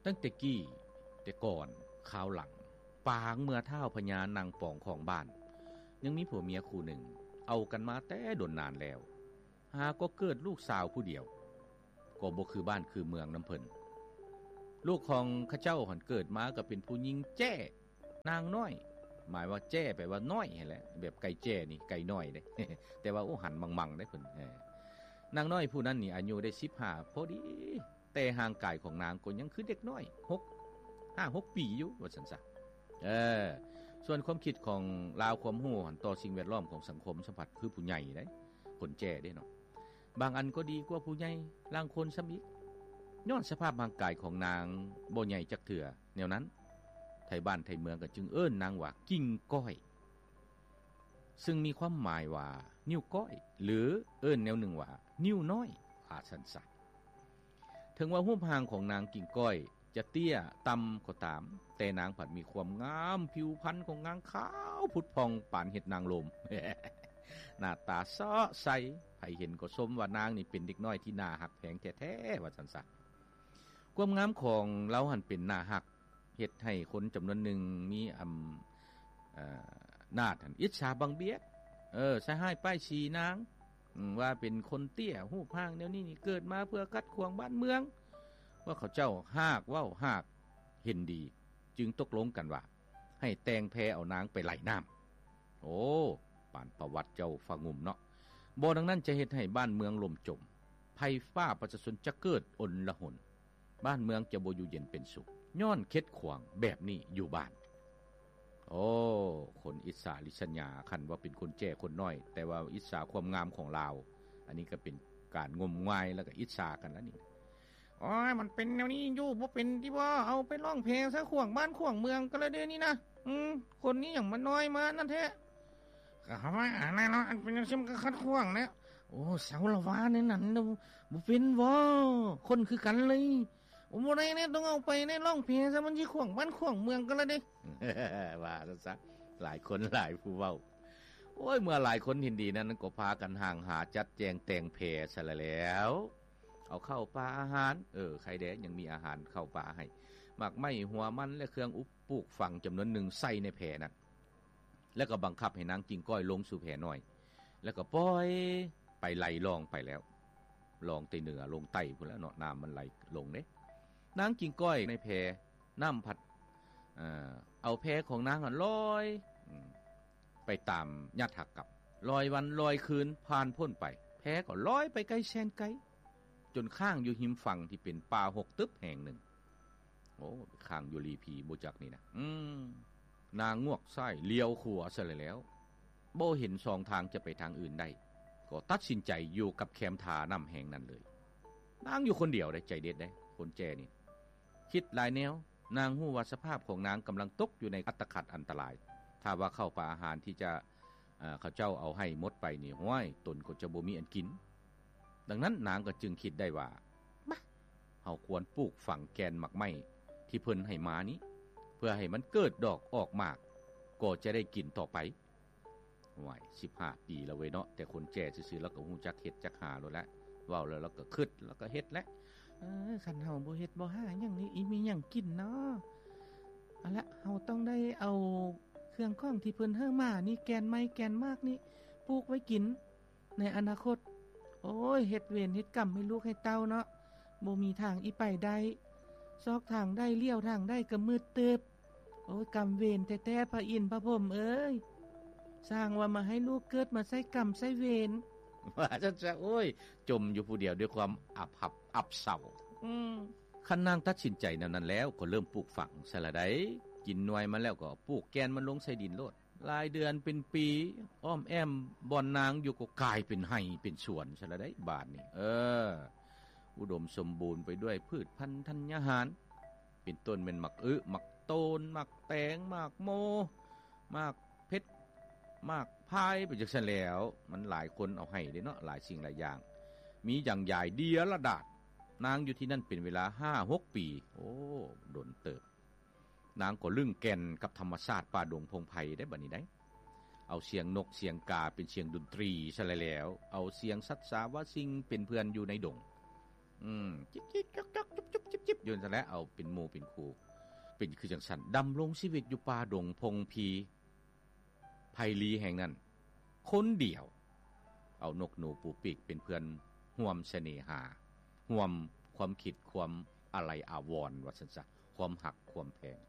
ຕັ້ງແຕ່ກີ້ແຕ່ກ່ອນຄາວຫຼັງ ປາງເມື່ອທ້າວພະຍານາງປອງຂອງບ້ານ ຍັງມີຜົວເມຍຄູ່ໜຶ່ງ ເອົາກັນມາແຕ່ດົນນານແລ້ວ ຫາກໍເກີດລູກສາວຜູ້ດຽວ ກໍບໍ່ຄືບ້ານຄືເມືອງນຳເພິ່ນ. ລູກຂອງເຂົາເຈົ້າຫັ້ນເກີດມາກໍເປັນຜູ້ຍິງແຈ້ ນາງນ້ອຍ ໝາຍວ່າແຈ້ແປວ່ານ້ອຍຫັ້ນແຫຼະ ແບບໄກ່ແຈ້ນີ້ໄກ່ນ້ອຍເດ້ ແຕ່ວ່າ ໂອ້ ຫັນມັງໆເດ້ເພິ່ນ. ເອີ ນາງນ້ອຍຜູ້ນັ້ນນີ້ອາຍຸໄດ້ສິບຫ້າພໍດີ ແຕ່ຮ່າງກາຍຂອງນາງກໍຍັງຄືເດັກນ້ອຍ ຫົກ ຫ້າຫົກປີຢູ່ ວ່າຊັ້ນຊະ. ເອີ ສ່ວນຄວາມຄິດຂອງລາວ ຄວາມຮູ້ຫັ້ນຕໍ່ສິ່ງແວດລ້ອມຂອງສັງຄົມ ສຳພັດຄືຜູ້ໃຫຍ່ເດ້ ຄົນແຈ້ເດ້ເນາະ. ບາງອັນກໍດີກວ່າຜູ້ໃຫຍ່ລາງຄົນຊ້ຳອີກ. ຍ້ອນສະພາບຮ່າງກາຍຂອງນາງບໍ່ໃຫຍ່ຈັກເທື່ອແນວນັ້ນ ໄທບ້ານໄທເມືອງກໍຈຶ່ງເອີ້ນນາງວ່າກິ່ງກ້ອຍ ຊຶ່ງມີຄວາມໝາຍວ່ານິ້ວກ້ອຍ ຫຼື ເອີ້ນແນວໜຶ່ງວ່ານິ້ວນ້ອຍ ວ່າຊັ້ນຊະ. ເຖິງວ່າຮູບຮ່າງຂອງນາງກິ່ງກ້ອຍຈະເຕ້ຍຕ່ຳກໍຕາມ, ແຕ່ນາງພັດມີຄວາມງາມ, ຜິວພັນຂອງນາງຂາວຜຸດຜ່ອງປານເຫັດນາງລົມ. ໜ້າຕາເຊາະໃສ, ໃຜເຫັນກໍຊົມວ່ານາງນີ້ເປັນເດັກນ້ອຍທີ່ໜ້າຮັກແພງແທ້ໆ ວ່າຊັ້ນຊະ. ຄວາມງາມຂອງລາວຫັ້ນເປັນໜ້າຮັກ, ເຮັດໃຫ້ຄົນຈຳນວນໜຶ່ງມີອຳ ເອີ ນາດຫັ້ນອິດສາບັງບຽດ ເອີ ໃສ່ຮ້າຍປ້າຍສີນາງ ອາ ວ່າເປັນຄົນເຕ້ຍ ຮູບຮ່າງແນວນີ້ນີ້ເກີດມາເພື່ອຂັດຂວາງບ້ານເມືອງ ວ່າເຂົາເຈົ້າຮາກເວົ້າຮາກເຫັນດີ ຈຶ່ງຕົກລົງກັນວ່າ ໃຫ້ແຕ່ງແພເອົານາງໄປໄຫຼນ້ຳ. ໂອ້ ປານປະຫວັດເຈົ້າຟ້າງຸ່ມເນາະ. ບໍ່ດັ່ງນັ້ນຈະເຮັດໃຫ້ບ້ານເມືອງຫຼົ່ມຈົມ, ໄພຟ້າປະຊາຊົນຈະເກີດອົນລະຫົນ, ບ້ານເມືອງຈະບໍ່ຢູ່ເຢັນເປັນສຸກ ຍ້ອນເຂັດຂວາງແບບນີ້ຢູ່ບ້ານ. ໂອ້ ຄົນອິດສາລິດສະຫຍາ ຄັນວ່າເປັນຄົນແຈ້ຄົນນ້ອຍ ແຕ່ວ່າອິດສາຄວາມງາມຂອງລາວ. ອັນນີ້ກໍເປັນການງົມງາຍ ແລ້ວກໍອິດສາກັນລະນີ້. ໂອ້ຍ ມັນເປັນແນວນີ້ຢູ່ ບໍ່ເປັນຕິບໍ່ ເອົາໄປລ້ອງແພຊະ ຂວາງບ້ານຂວາງເມືອງກັນລະເດນີ້ນະ. ອືມ ຄົນນີ້ຫຍັງມານ້ອຍມານັ້ນແທ້. ກໍເຮົາວ່າອັນນັ້ນເນາະ ອັນເປັນຈັ່ງຊີ້ມັນກໍຂັດຂວາງແຫຼະ. ໂອ້ ເຊົາລະວ່າແນວນັ້ນ ບໍ່ເປັນບໍ່ ຄົນຄືກັນເລີຍ. ໂອ້ ບໍ່ໄດ້ແນ່ ຕ້ອງເອົາໄປແນ່ ລ້ອງແພຊະ ມັນຊິຂວາງບ້ານຂວາງເມືອງກັນລະເດ. ວ່າຊັ້ນຊະ ຫຼາຍຄົນຫຼາຍຜູ້ເວົ້າ. ໂອ້ຍ ເມື່ອຫຼາຍຄົນເຫັນດີນັ້ນ ກໍພາກັນຮ່າງຫາຈັດແຈງແຕ່ງແພຊະລະແລ້ວ. ເອົາເຂົ້າປາອາຫານ ເອີ ໄຄແດ່ ຍັງມີອາຫານເຂົ້າປາໃຫ້ ໝາກໄມ້ ຫົວມັນ ແລະ ເຄື່ອງອຸບປູກຝັງຈຳນວນໜຶ່ງໃສ່ໃນແພນັ້ນ ແລ້ວກໍບັງຄັບໃຫ້ນາງກິ່ງກ້ອຍລົງສູ່ແພນ້ອຍ ແລ້ວກໍປ່ອຍໄປໄຫຼລ່ອງໄປແລ້ວ ລ່ອງແຕ່ເໜືອລົງໃຕ້ພຸ້ນແຫຼະເນາະ ນ້ຳມັນໄຫຼລົງເດ້. ນາງກິ່ງກ້ອຍໃນແພ ນ້ຳພັດ ເອີ ເອົາແພຂອງນາງຫັ້ນລອຍ ອືມ ໄປຕາມຍະຖາກຳ ລອຍວັນລອຍຄືນຜ່ານພົ້ນໄປ ແພກໍລອຍໄປໄກແສນໄກ ຈົນຄ້າງຢູ່ຮິມຝັ່ງທີ່ເປັນປ່າຮົກຕຶບແຫ່ງໜຶ່ງ. ໂອ້ ຄ້າງຢູ່ຫຼີ່ຜີບໍ່ຈັກນີ້ນະ. ອືມ ນາງງວກຊ້າຍຫຼຽວຂວາຊະແລ້ວ ບໍ່ເຫັນຊ່ອງທາງຈະໄປທາງອື່ນໄດ້ ກໍຕັດສິນໃຈຢູ່ກັບແຄມທ່ານ້ຳແຫ່ງນັ້ນເລີຍ. ນາງຢູ່ຄົນດຽວເດ້ ໃຈເດັດເດ້ ຄົນແຈ້ນີ້ ຄິດຫຼາຍແນວ. ນາງຮູ້ວ່າສະພາບຂອງນາງກຳລັງຕົກຢູ່ໃນອັດຕະຂັດອັນຕະລາຍ. ຖ້າວ່າເຂົ້າປາອາຫານທີ່ຈະ ເອີ ເຂົາເຈົ້າເອົາໃຫ້ໝົດໄປນີ້ ຫ້ວຍ ຕົນກໍຈະບໍ່ມີອັນກິນ. ດັ່ງນັ້ນນາງກໍຈຶ່ງຄິດໄດ້ວ່າ ບາ ເຮົາຄວນປູກຝັງແກ່ນໝາກໄມ້ທີ່ເພິ່ນໃຫ້ມານີ້ ເພື່ອໃຫ້ມັນເກີດດອກອອກໝາກ ກໍຈະໄດ້ກິນຕໍ່ໄປ. ໂອ້ຍ ສິບຫ້າປີແລ້ວເວີຍເນາະ ແຕ່ຄົນແຈ້ຊື່ໆ ລາວກໍຮູ້ຈັກເຮັດຈັກຫາໂລດແຫຼະ. ເວົ້າແລ້ວລາວກໍຄຶດ ລາວກໍເຮັດແຫຼະ. ເອີ ຄັນເຮົາບໍ່ເຮັດບໍ່ຫາຫຍັງນີ້ ອີ່ມີຫຍັງກິນເນາະ? ເອົາລະ ເຮົາຕ້ອງໄດ້ເອົາເຄື່ອງຂອງທີ່ເພິ່ນໃຫ້ມານີ້ ແກ່ນໄມ້ແກ່ນໝາກນີ້ ປູກໄວ້ກິນໃນອະນາຄົດ. ໂອ້ຍ ເຮັດເວນເຮັດກຳໃຫ້ລູກໃຫ້ເຕົ້າເນາະ ບໍ່ມີທາງອີ່ໄປໄດ້. ຊອກທາງໃດ ຫຼຽວທາງໃດກໍມືດຕຶບ. ໂອ້ຍ ກຳເວນແທ້ໆ ພະອິນພະພົມເອີຍ ຊ່າງວ່າມາໃຫ້ລູກເກີດມາໃຊ້ກຳໃຊ້ເວນ. ວ່າຊັ້ນຊະ ໂອ້ຍ ຈົ່ມຢູ່ຜູ້ດຽວດ້ວຍຄວາມອັບຫັບອັບເສົ້າ. ອືມ ຄັນນາງຕັດສິນໃຈແນວນັ້ນແລ້ວ ກໍເລີ່ມປູກຝັງຊະລະໃດ໋. ກິນໜ່ວຍມັນແລ້ວກໍປູກແກ່ນມັນລົງໃສ່ດິນໂລດ. ຫຼາຍເດືອນເປັນປີ ອ້ອມແອ້ມບ່ອນນາງຢູ່ກໍກາຍເປັນໄຮ່ເປັນສວນຊະລະໃດ໋ ບາດນີ້. ເອີ ອຸດົມສົມບູນໄປດ້ວຍພືດພັນທັນຍາຫານ ເປັນຕົ້ນແມ່ນໝາກອຶ ໝາກໂຕນ ໝາກແຕງ ໝາກໂມ ໝາກເຜັດ ໝາກພາຍ ໄປຈັ່ງຊັ້ນແຫຼ້ວ. ມັນຫຼາຍຄົນເອົາໃຫ້ເດ້ເນາະ ຫຼາຍສິ່ງຫຼາຍຢ່າງ ມີຢ່າງຢາຍເດຍລະດາດ. ນາງຢູ່ທີ່ນັ້ນເປັນເວລາຫ້າຫົກປີ ໂອ້ ດົນເຕີບ. ນາງກໍລຶ້ງແກ່ນກັບທຳມະຊາດປ່າດົງພົງໄພໄດ໋ ບັດນີ້ໄດ໋. ເອົາສຽງນົກສຽງກາເປັນສຽງດົນຕຣີຊະແລ້ວ ເອົາສຽງສັດສາວາສິ່ງເປັນເພື່ອນຢູ່ໃນດົງ. ອືມ ຈິກໆ ຈອກໆ ຈຸບໆ ຈິບໆ ຢູ່ຫັ້ນແຫຼະ ເອົາເປັນໝູ່ເປັນຄູ່ ເປັນຄືຈັ່ງຊັ້ນ ດຳລົງຊີວິດຢູ່ປ່າດົງພົງພີ ໄພລີແຫ່ງນັ້ນ ຄົນດຽວ ເອົານົກໜູປູປີກເປັນເພື່ອນ ຮ່ວມສະເໜຫາ ຮ່ວມຄວາມຄິດ ຄວາມອາໄລອາວອນ ວ່າຊັ້ນຊະ ຄວາມຮັກຄວາມແພງ